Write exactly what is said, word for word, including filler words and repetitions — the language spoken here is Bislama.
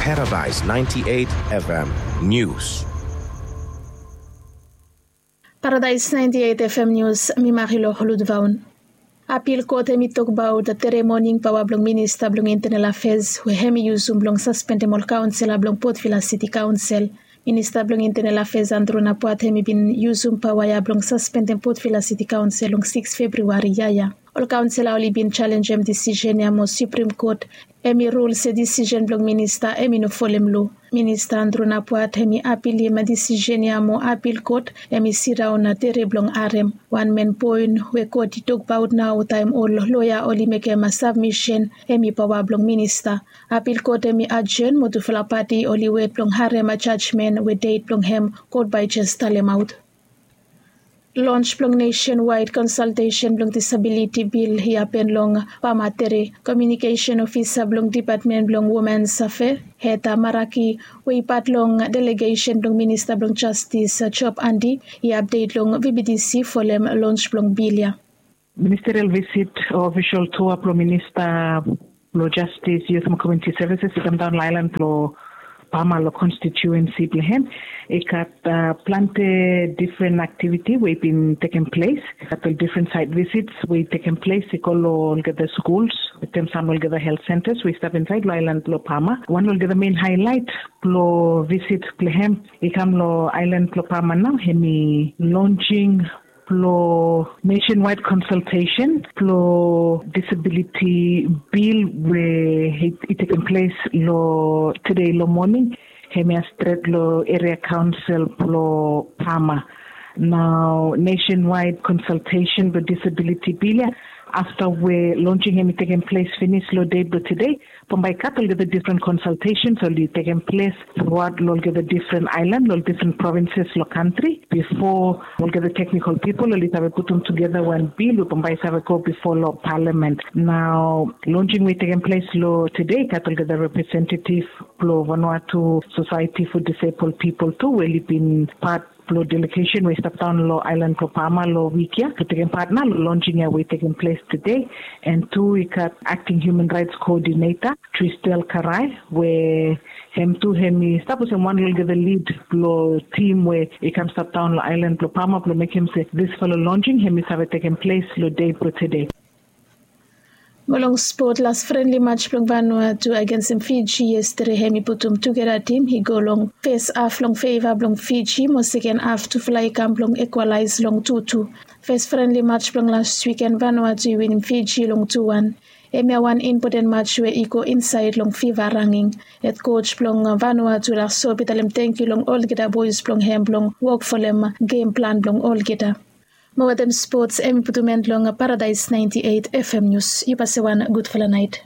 Paradise ninety-eight F M News. Paradise ninety-eight F M News, mi Marilor Ludvaun. Apil kot hemi tokbaot tere moning paoa blong minista blong intenel afeas we hemi yusum blong saspendem ol kaonsela blong Port Vila Siti Kaonsel. Minista blong intenel afeas Andrew Napuat hemi bin yusum paoa ya blong saspendem Port Vila Siti Kaonsel long sikis Februari yia ya. Ol kaonsela oli bin jalenjem disisen ya mo Supreme Kot hemi rul se disisen blong minista hemi no folem loa. Minista Andrew Napuat hemi apilim disisen ya mo apil kot hemi sidaon tere blong harem. Wan men poen we kot i tokbaot nao taem ol loea oli mekem sabmisen hemi paoa blong minista. Apil kot hemi ajen mo tufala pati oli wet blong harem jajmen we det blong hem kot bae jes talemaot. Lons blong nesen waed konsaltesen blong disabiliti bil i hapen long Pama tere. Komiunikesen ofisa blong dipatmen blong Womens Afea Heta Maraki we i pat long delegesen blong minista blong jastis Job Andi i apdet long V B T C folem lons blong bil ya. Ministerial visit o ofisol tua blong minista blong jastis, yut mo komiuniti sevises i kamdaon long aelan blong Pama long konstitiuensi blong hem. I gat plante difren aktiviti we i bin tekem ples. I gat ol difren saet visits we i tekem ples i go long olgeta skuls wetem sam olgeta helt sentas we i stap insaed long aelan blong Pama. Wan long olgeta men haelaet blong visit blong hem i kam long aelan blong Pama nao hemi lonsing blong nesen waed konsaltesen blong disabiliti bil we i tekem ples long tede long moning. Hemia stret long eria kaonsel blong Pama. Nao nesen waed konsaltesen blong disabiliti bil ya afta we lonsing hemi tekem ples finis long de blong tede, bambae i gat olgeta difren konsaltesens oli tekem ples truaot long olgeta difren aelan long ol difren provinses long kantri bifo olgeta teknikol pipol oli save putum tugeta wan bil we bambae i save go bifo long palamen. Nao lonsing we i tekem ples long tede i gat olgeta representativ blong Vanuatu Sosaeti fo Disebol Pipol tu we oli bin pat blong delegesen we i stap daon long aelan blong Pama long wik ya blong tekem pat nao long lonsing ya we i tekem ples tede. An tu i gat akting hiuman raets koodineta Tristel Karai we hem tu hemi stap olsem wan long olgeta lid blong tim we i kam stap daon long aelan blong Pama blong mekem se disfala lonsing hemi save tekem ples long de blong tede. Mo long spot, las frenli maj blong Vanuatu agensem Fiji yestade hemi putum tugeta tim i go long fes haf long feva blong Fiji mo seken haf tufala i kam blong ikwalaes long tutu. Fes frenli maj blong las wiken Vanuatu i winim Fiji long tu wan. Hemia wan impoten maj we i go insaed long fiva ranging. Hed koj blong Vanuatu Laso i talem tangkiu long olgeta boes blong hem blong wok folem gem plan blong olgeta. Mo wetem spots hemi putum en long Paradaes naenti eit F M Nius. Yu basewan gudfala naet.